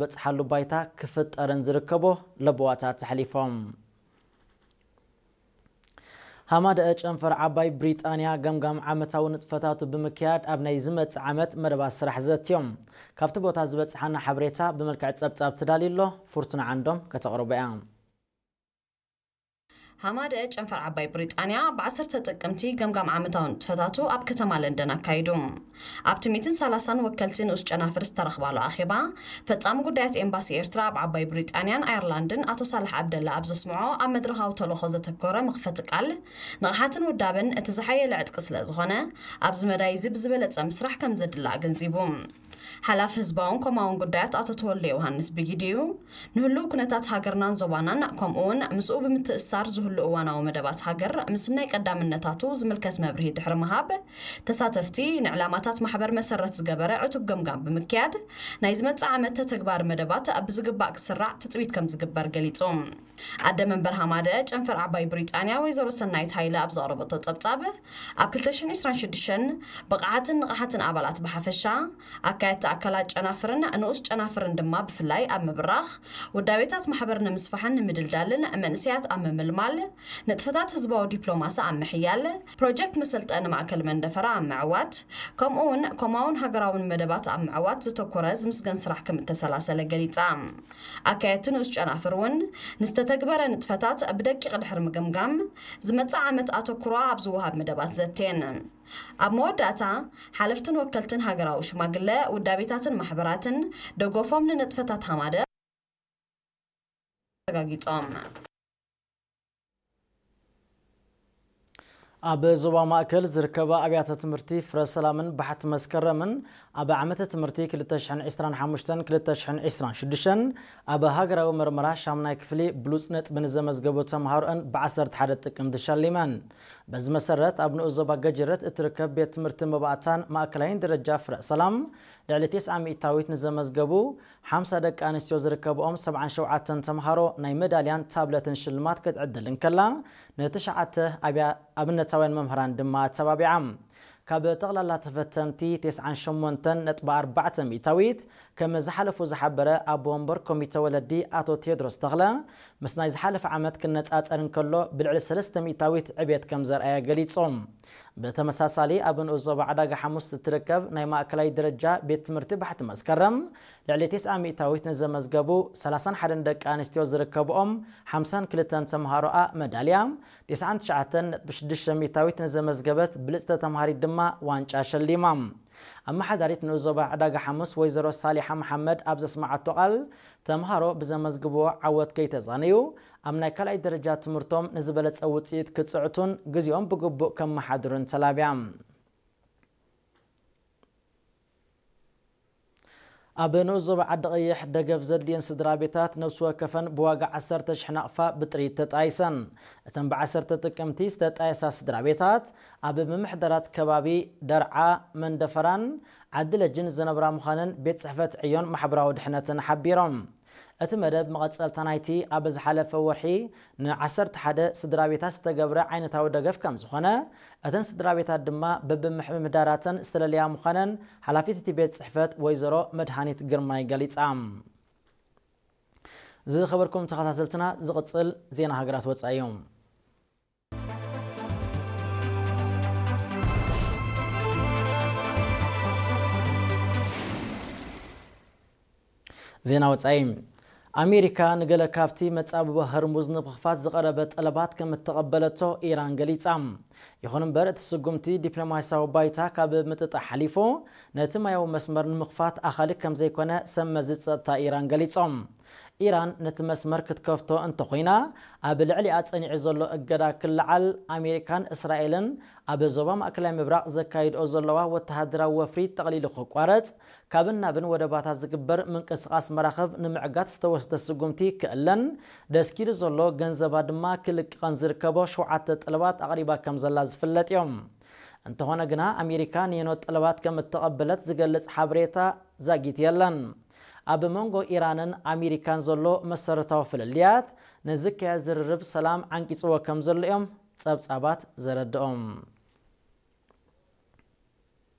ዝበጽሓሉ ባይታ ክፍጠርን ዝርከቦ ለበዋታት ኣሕሊፎም። ሃማደአ ጨንፈር ዓባይ ብሪጣንያ ገምጋም ዓመታዊ ንጥፈታቱ ብምክያድ ኣብ ናይ ዝመጽእ ዓመት መደባት ስራሕ ዘትዮም። ካብቲ ቦታ ዝበጽሓና ሓበሬታ ብመልክዕ ጸብጻብ ተዳልዩ ኣሎ፣ ፍርቱና ዓንዶም ከተቕርቦ እያ። ሃማደአ ጨንፈር ዓባይ ብሪጣንያ ብ ዓሰርተ ጥቅምቲ ገምጋም ዓመታዊ ንጥፈታቱ ኣብ ከተማ ለንደን ኣካይዱ። ኣብቲ ሚእትን ሰላሳን ወከልቲ ንኡስ ጨናፍር ዝተረኽባሉ ኣኼባ፣ ፈጻሚ ጉዳያት ኤምባሲ ኤርትራ ኣብ ዓባይ ብሪጣንያን ኣየርላንድን ኣቶ ሳልሕ ዓብደላ ኣብ ዘስምዖ ኣብ መድረኻዊ ተልእኾ ዘተኮረ መኽፈቲ ቃል፣ ንቕሓትን ውዳበን እቲ ዝሓየለ ዕጥቂ ስለ ዝኾነ፣ ኣብዚ መዳይ እዚ ብዝበለጸ ምስራሕ ከም ዘድሊ ኣገንዚቡ። ሓላፊ ህዝባውን ኮማውን ጉዳያት ኣቶ ተወልደ ዮሃንስ ብጊዲኡ፣ ንህሉው ኩነታት ሃገርናን ዞባናን፣ ከምኡውን ምስኡ ብምትእስሳር ዝህሉ እዋናዊ መደባት ሃገር ምስናይ ቀዳምነታቱ ዝምልከት መብርሂ ድሕሪ ምሃብ፣ ተሳተፍቲ ንዕላማታት ማሕበር መሰረት ዝገበረ ዕቱብ ገምጋም ብምክያድ፣ ናይ ዝመጽእ ዓመት ተተግባሪ መደባት ብዝግባእ ክስራዕ ትጽቢት ከም ዝግበር ገሊጹ። ኣደ መንበር ሃማደአ ጨንፈር ዓባይ ብሪጣንያ ወይዘሮ ሰናይት ሃይለ ኣብ ዘቕረበቶ ጸብጻብ፣ ኣብ ክልተ ሽሕን ዕስራን ሽዱሽተን ብቕዓትን ንቕሓትን ኣባላት ብሓፈሻ፣ ኣካየድቲ ኣካላት ጨናፍርን ንኡስ ጨናፍርን ድማ ብፍላይ ኣብ ምብራኽ፣ ውዳቤታት ማሕበር ንምስፋሕን ንምድልዳልን፣ መንእሰያት ኣብ ምምልማል፣ ንጥፈታት ህዝባዊ ዲፕሎማሲ ኣብ ምሕያል፣ ፕሮጀክት መሰልጠኒ ማእከል መንደፈራ ኣብ ምዕዋት፣ ከምኡ እውን ኮማውን ሃገራውን መደባት ኣብ ምዕዋት ዘተኮረ ዝምስገን ስራሕ ከም እተሰላሰለ ገሊጻ። ኣካየድቲ ንኡስ ጨናፍር እውን ንዝተተግበረ ንጥፈታት ብደቂቕ ድሕሪ ምግምጋም፣ ዝመጽእ ዓመት ኣተኩሮ ኣብ ዝወሃብ መደባት ዘትየን። ኣብ መወዳእታ፣ ሓለፍትን ወከልትን ሃገራዊ ሽማግለ፣ ውዳቤታትን ማሕበራትን ደገፎም ንንጥፈታት ሃማደ ኣረጋጊጾም። ኣብ ዞባ ማእከል ዝርከባ ኣብያተ ትምህርቲ ፍረ ሰላምን ባሕቲ መስከረምን ኣብ ዓመተ ትምህርቲ ክልተ ሽሕን ዕስራን ሓሙሽተን ክልተ ሽሕን ዕስራን ሽዱሽተን ኣብ ሃገራዊ መርመራ ሻምናይ ክፍሊ ብሉጽ ነጥቢ ንዘመዝገቡ ተምሃሮኣን ብዓሰርተ ሓደ ጥቅምቲ ሸሊመን። በዚ መሰረት ኣብ ንኡስ ዞባ ገጅረት እትርከብ ቤት ትምህርቲ መባእታን ማእከላይን ደረጃ ፍረ ሰላም ልዕሊ ተስዓ ሚእታዊት ንዘመዝገቡ ሓምሳ ደቂ ኣንስትዮ ዝርከብኦም ሰብዓን ሸውዓተን ተምሃሮ ናይ መዳልያን ታብለትን ሽልማት ክትዕድል እንከላ፣ ንትሽዓተ ኣብያ-፣ ኣብነታውያን መምህራን ድማ ኣተባቢዓ። ካብ ጠቕላላ ተፈተንቲ፣ ተስዓን ሸሞንተን ነጥቢ ኣርባዕተ ሚእታዊት ከም ዝሓለፉ ዝሓበረ ኣቦ ወንበር ኮሚተ ወለዲ ኣቶ ቴድሮስ ተኽለ፣ ምስ ናይ ዝሓለፈ ዓመት ክነጻጸር እንከሎ፣ ብልዕሊ ሰለስተ ሚእታዊት ዕቤት ከም ዘርኣየ ገሊጹ። ብተመሳሳሊ፣ ኣብ ንኡስ ዞባ ዕዳጋ ሓሙስ እትርከብ ናይ ማእከላይ ደረጃ ቤት ትምህርቲ ባሕቲ መስከረም፣ ልዕሊ ተስዓ ሚእታዊት ንዘመዝገቡ ሰላሳን ሓደን ደቂ ኣንስትዮ ዝርከብኦም ሓምሳን ክልተን ተምሃሮኣ መዳልያ፣ ተስዓን ትሽዓተን ነጥቢ ሽዱሽተ ሚእታዊት ንዘመዝገበት ብልጽቲ ተምሃሪት ድማ ዋንጫ ሸሊማ። ኣመሓዳሪት ንኡስ ዞባ ዕዳጋ ሓሙስ ወይዘሮ ሳሊሓ መሓመድ ኣብ ዘስመዓቶ ቃል፣ ተምሃሮ ብዘመዝግብዎ ዓወት ከይተዛነዩ፣ ኣብ ናይ ካልኣይ ደረጃ ትምህርቶም ንዝበለጸ ውጽኢት ክጽዕቱን ግዜኦም ብግቡእ ከመሓድሩን ተላብያ። ኣብ ንኡስ ዞባ ዓዲ ቀይሕ ደገፍ ዘድልየን ስድራ ቤታት ነፍሲ ወከፈን ብዋጋ ዓሰርተ ሽሕ ናቕፋ ብጥሪት ተጣይሰን። እተን ብዓሰርተ ጥቅምቲ ዝተጣየሳ ስድራ ቤታት ኣብ ምምሕዳራት ከባቢ ደርዓ፣ መንደፈራን ዓዲ ለጅን ዝነብራ ምዃነን ቤት ጽሕፈት ዕዮን ማሕበራዊ ድሕነትን ሓቢሮም። እቲ መደብ መቐጸልታ ናይቲ ኣብ ዝሓለፈ ወርሒ ንዓሰርተ ሓደ ስድራ ቤታት ዝተገብረ ዓይነታዊ ደገፍ ከም ዝኾነ፣ እተን ስድራ ቤታት ድማ በብምምሕዳራተን ዝተለለያ ምዃነን ሓላፊት እቲ ቤት ጽሕፈት ወይዘሮ መድሃኒት ግርማይ ገሊጻ። ዝኸበርኩም ተኸታተልትና፣ ዝቕጽል ዜና ሃገራት ወጻኢ እዩ። ዜና ወጻኢ። ኣሜሪካ ንገለ ካብቲ መጻብቦ ሆርሙዝ ንምኽፋት ዝቐረበ ጠለባት ከም እተቐበለቶ ኢራን ገሊጻ። ይኹን እምበር፣ እቲ ስጉምቲ ዲፕሎማስያዊ ባይታ ካብ ምጥጣሕ ሓሊፉ፣ ነቲ ማያዊ መስመር ንምኽፋት ኣኻሊ ከም ዘይኮነ ሰብ መዚ ጸጥታ ኢራን ገሊጾም። ኢራን ነቲ መስመር ክትከፍቶ እንተኾይና፣ ኣብ ልዕሊኣ ጸኒዑ ዘሎ እገዳ ክለዓል፣ ኣሜሪካን እስራኤልን ኣብ ዞባ ማእከላይ ምብራቕ ዘካይድኦ ዘለዋ ወተሃደራዊ ወፍሪ ጠቕሊሉ ክቋረጽ፣ ካብን ናብን ወደባታ ዝግበር ምንቅስቓስ መራኽብ ንምዕጋት ዝተወስደ ስጉምቲ ክእለን፣ ደስኪሉ ዘሎ ገንዘባ ድማ ክልቀቕን ዝርከቦ ሸውዓተ ጠለባት ኣቕሪባ ከም ዘላ ዝፍለጥ እዮም። እንተኾነ ግና፣ ኣሜሪካ ንየኖት ጠለባት ከም እተቐበለት ዝገልጽ ሓበሬታ ዛጊት የለን። ኣብ መንጎ ኢራንን ኣሜሪካን ዘሎ መሰረታዊ ፍልልያት ንዝካየድ ዝርርብ ሰላም ዓንቂጽዎ ከም ዘሎ እዮም ጸብጻባት ዘረድኦም።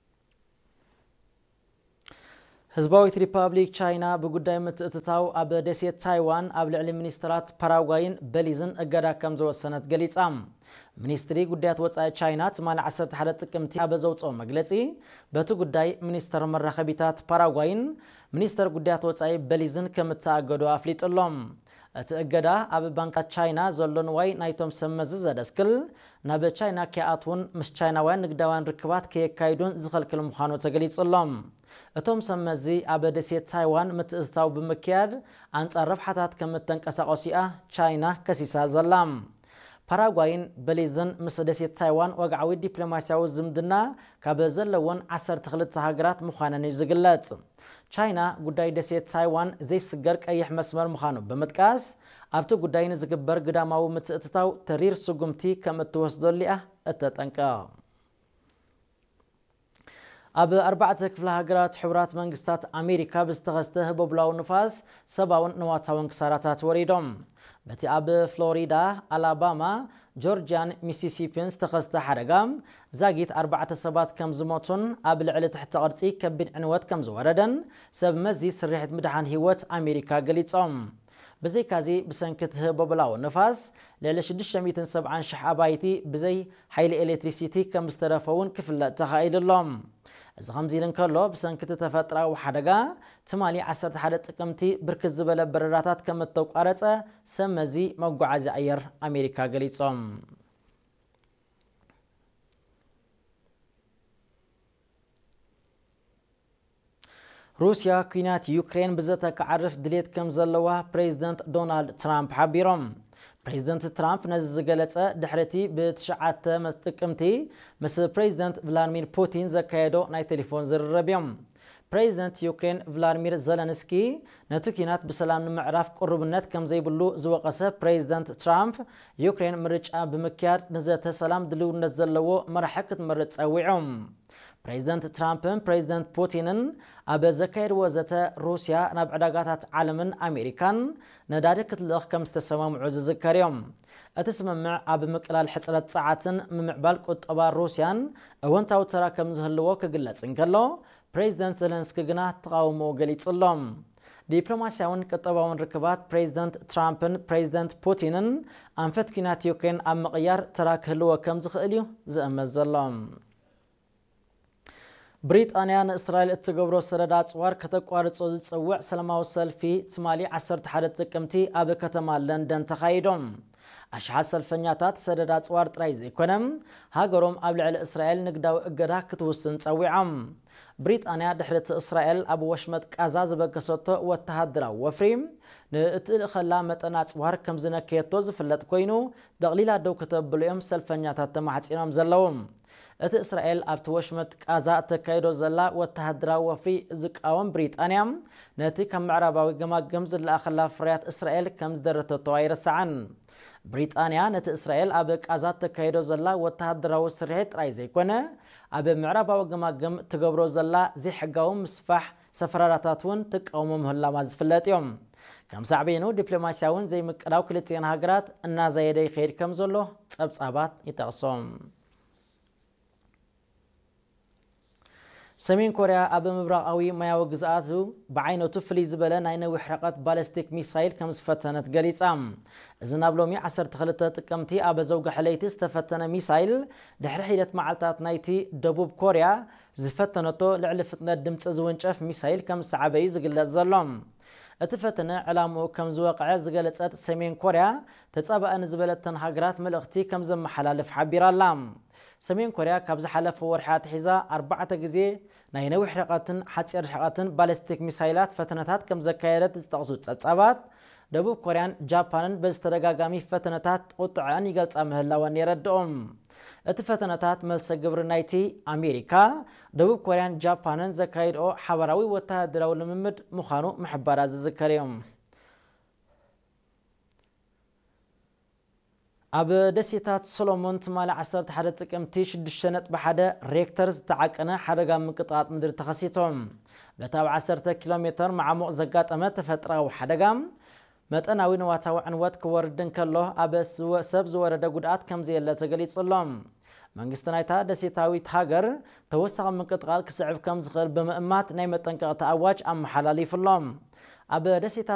ህዝባዊት ሪፓብሊክ ቻይና ብጉዳይ ምትእትታው ኣብ ደሴት ታይዋን ኣብ ልዕሊ ሚኒስተራት ፓራጓይን በሊዝን እገዳ ከም ዝወሰነት ገሊጻ። ሚኒስትሪ ጉዳያት ወጻኢ ቻይና ትማሊ ዓሰርተ ሓደ ጥቅምቲ ኣብ ዘውጽኦ መግለጺ፣ በቲ ጉዳይ ሚኒስተር መራኸቢታት ፓራጓይን ሚኒስተር ጉዳያት ወጻኢ በሊዝን ከም እተኣገዱ ኣፍሊጡ ኣሎ። እቲ እገዳ ኣብ ባንክታት ቻይና ዘሎ ንዋይ ናይቶም ሰብ መዚ ዘደስክል፣ ናብ ቻይና ከይኣትዉን ምስ ቻይናውያን ንግዳውያን ርክባት ከየካይዱን ዝኸልክል ምዃኑ ተገሊጹ ኣሎ። እቶም ሰብ መዚ ኣብ ደሴት ታይዋን ምትእትታው ብምክያድ ኣንጻር ረብሓታት ከም እተንቀሳቐሱ እያ ቻይና ከሲሳ ዘላ። ፓራጓይን በሊዝን ምስ ደሴት ታይዋን ወግዓዊ ዲፕሎማስያዊ ዝምድና ካብ ዘለወን ዓሰርተ ክልተ ሃገራት ምዃነን እዩ ዝግለጽ። ቻይና ጉዳይ ደሴት ታይዋን ዘይስገር ቀይሕ መስመር ምዃኑ ብምጥቃስ፣ ኣብቲ ጉዳይ ንዝግበር ግዳማዊ ምትእትታው ተሪር ስጉምቲ ከም እትወስደሉ እያ እተጠንቅቕ። ኣብ ኣርባዕተ ክፍለ ሃገራት ሕቡራት መንግስታት ኣሜሪካ ብዝተኸስተ ህቦብላዊ ንፋስ ሰብኣውን ንዋታውን ክሳራታት ወሪዶም። በቲ ኣብ ፍሎሪዳ፣ ኣላባማ፣ ጆርጅያን ሚሲሲፒን ዝተኸስተ ሓደጋ ዛጊት ኣርባዕተ ሰባት ከም ዝሞቱን ኣብ ልዕሊ ትሕተ ቅርጺ ከቢድ ዕንወት ከም ዝወረደን ሰብ መዚ ስርሒት ምድሓን ህይወት ኣሜሪካ ገሊጾም። ብዘይካዚ ብሰንኪ እቲ ህቦብላዊ ንፋስ ልዕሊ ሽዱሽተ ሚእትን ሰብዓን ሽሕ ኣባይቲ ብዘይ ሓይሊ ኤሌክትሪሲቲ ከም ዝተረፈ እውን ክፍለጥ ተኻኢሉ ኣሎ። እዚ ከምዚ ኢሉ እንከሎ፣ ብሰንኪ እቲ ተፈጥራዊ ሓደጋ ትማሊ ዓሰርተ ሓደ ጥቅምቲ ብርክት ዝበለ በረራታት ከም እተቋረጸ ሰብ መዚ መጓዓዝያ ኣየር ኣሜሪካ ገሊጾም። ሩስያ ኲናት ዩክሬን ብዘተ ክዓርፍ ድሌት ከም ዘለዋ ፕሬዚደንት ዶናልድ ትራምፕ ሓቢሮም። ፕሬዚደንት ትራምፕ ነዚ ዝገለጸ ድሕሪ እቲ ብትሽዓተ መስ-፣ ጥቅምቲ ምስ ፕሬዚደንት ቭላድሚር ፑቲን ዘካየዶ ናይ ቴሌፎን ዝርርብ እዮም። ፕሬዚደንት ዩክሬን ቭላድሚር ዘለንስኪ ነቲ ኲናት ብሰላም ንምዕራፍ ቅሩብነት ከም ዘይብሉ ዝወቐሰ ፕሬዚደንት ትራምፕ፣ ዩክሬን ምርጫ ብምክያድ ንዘተ ሰላም ድልውነት ዘለዎ መራሒ ክትመርጽ ጸዊዖም። ፕሬዚደንት ትራምፕን ፕሬዚደንት ፑቲንን ኣብ ዘካየድዎ ዘተ፣ ሩስያ ናብ ዕዳጋታት ዓለምን ኣሜሪካን ነዳዲ ክትልእኽ ከም ዝተሰማምዑ ዝዝከር እዮም። እቲ ስምምዕ ኣብ ምቅላል ሕጽረት ጸዓትን ምምዕባል ቁጠባ ሩስያን እወንታዊ ተራ ከም ዝህልዎ ክግለጽ እንከሎ፣ ፕሬዚደንት ዘለንስኪ ግና ተቓውሞኡ ገሊጹ ኣሎ። ዲፕሎማስያውን ቁጠባውን ርክባት ፕሬዚደንት ትራምፕን ፕሬዚደንት ፑቲንን ኣንፈት ኲናት ዩክሬን ኣብ ምቕያር ተራ ክህልዎ ከም ዝኽእል እዩ ዝእመት ዘሎ። ብሪጣንያ ንእስራኤል እትገብሮ ሰደድ ኣጽዋር ከተቋርጾ ዝጽውዕ ሰላማዊ ሰልፊ ትማሊ ዓሰርተ ሓደ ጥቅምቲ ኣብ ከተማ ለንደን ተኻይዶም። ኣሽሓት ሰልፈኛታት ሰደድ ኣጽዋር ጥራይ ዘይኮነ፣ ሃገሮም ኣብ ልዕሊ እስራኤል ንግዳዊ እገዳ ክትውስን ጸዊዖም። ብሪጣንያ ድሕሪ እቲ እስራኤል ኣብ ወሽመጥ ቃዛ ዝበገሰቶ ወተሃደራዊ ወፍሪ፣ ንእትልእኸላ መጠን ኣጽዋር ከም ዝነከየቶ ዝፍለጥ ኮይኑ፣ ደቕሊላ ደው ከተብሉ እዮም ሰልፈኛታት ተማሕጺኖም ዘለዉ። እቲ እስራኤል ኣብቲ ወሽመጥ ቃዛ እተካይዶ ዘላ ወተሃደራዊ ወፍሪ ዝቃወም ብሪጣንያ፣ ነቲ ካብ ምዕራባዊ ገማግም ዝለኣኸላ ፍርያት እስራኤል ከም ዝደረተቶ ኣይረስዓን። ብሪጣንያ ነቲ እስራኤል ኣብ ቃዛ እተካይዶ ዘላ ወተሃደራዊ ስርሒት ጥራይ ዘይኮነ፣ ኣብ ምዕራባዊ ገማግም ትገብሮ ዘላ ዘይሕጋዊ ምስፋሕ ሰፈራራታት እውን ትቃወሞ ምህላዋ ዝፍለጥ እዮም። ከም ሳዕቤኑ ዲፕሎማስያውን ዘይምቅዳው ክልቲኤን ሃገራት እናዛየደ ይኸይድ ከም ዘሎ ጸብጻባት ይጠቕሶም። ሰሜን ኮርያ ኣብ ምብራቓዊ ማያዊ ግዝኣቱ ብዓይነቱ ፍልይ ዝበለ ናይ ነዊሕ ርሕቀት ባለስቲክ ሚሳይል ከም ዝፈተነት ገሊጻ። እዚ ናብ ሎሚ ዓሰርተ ክልተ ጥቅምቲ ኣብ ዘውግሐ ለይቲ ዝተፈተነ ሚሳይል፣ ድሕሪ ሒደት መዓልታት ናይቲ ደቡብ ኮርያ ዝፈተነቶ ልዕሊ ፍጥነት ድምጺ ዝውንጨፍ ሚሳይል ከም ዝሰዓበ እዩ ዝግለጽ ዘሎ። እቲ ፈተነ ዕላምኡ ከም ዝወቕዐ ዝገለጸት ሰሜን ኮርያ፣ ተጻባእኒ ዝበለተን ሃገራት መልእኽቲ ከም ዘመሓላልፍ ሓቢራ ኣላ። ሰሜን ኮርያ ካብ ዝሓለፈ ወርሒ ኣትሒዛ ኣርባዕተ ግዜ ናይ ነዊሕ ርሕቀትን ሓጺር ርሕቀትን ባሊስቲክ ሚሳይላት ፈተነታት ከም ዘካየደት ዝጠቕሱ ጸብጻባት፣ ደቡብ ኮርያን ጃፓንን በዚ ተደጋጋሚ ፈተነታት ቁጥዐን ይገልጻ ምህላወን የረድኦም። እቲ ፈተነታት መልሰ ግብሪ ናይቲ ኣሜሪካ፣ ደቡብ ኮርያን ጃፓንን ዘካይድኦ ሓባራዊ ወተሃደራዊ ልምምድ ምዃኑ ምሕባራ ዝዝከር እዩ። ኣብ ደሴታት ሶሎሞን ትማሊ ዓሰርተ ሓደ ጥቅምቲ ሽዱሽተ ነጥቢ ሓደ ሬክተር ዝተዓቀነ ሓደጋ ምንቅጥቃጥ ምድሪ ተኸሲቶም። በቲ ኣብ ዓሰርተ ኪሎ ሜተር መዓሙቕ ዘጋጠመ ተፈጥራዊ ሓደጋ፣ መጠናዊ ንዋታዊ ዕንወት ክወርድ እንከሎ፣ ኣብ ስወ-፣ ሰብ ዝወረደ ጉድኣት ከም ዘየለ ተገሊጹ ኣሎ። መንግስቲ ናይታ ደሴታዊት ሃገር ተወሳኺ ምንቅጥቓጥ ክስዕብ ከም ዝኽእል ብምእማት ናይ መጠንቀቕታ ኣዋጅ ኣመሓላሊፉ ኣሎ። ኣብ ደሴታት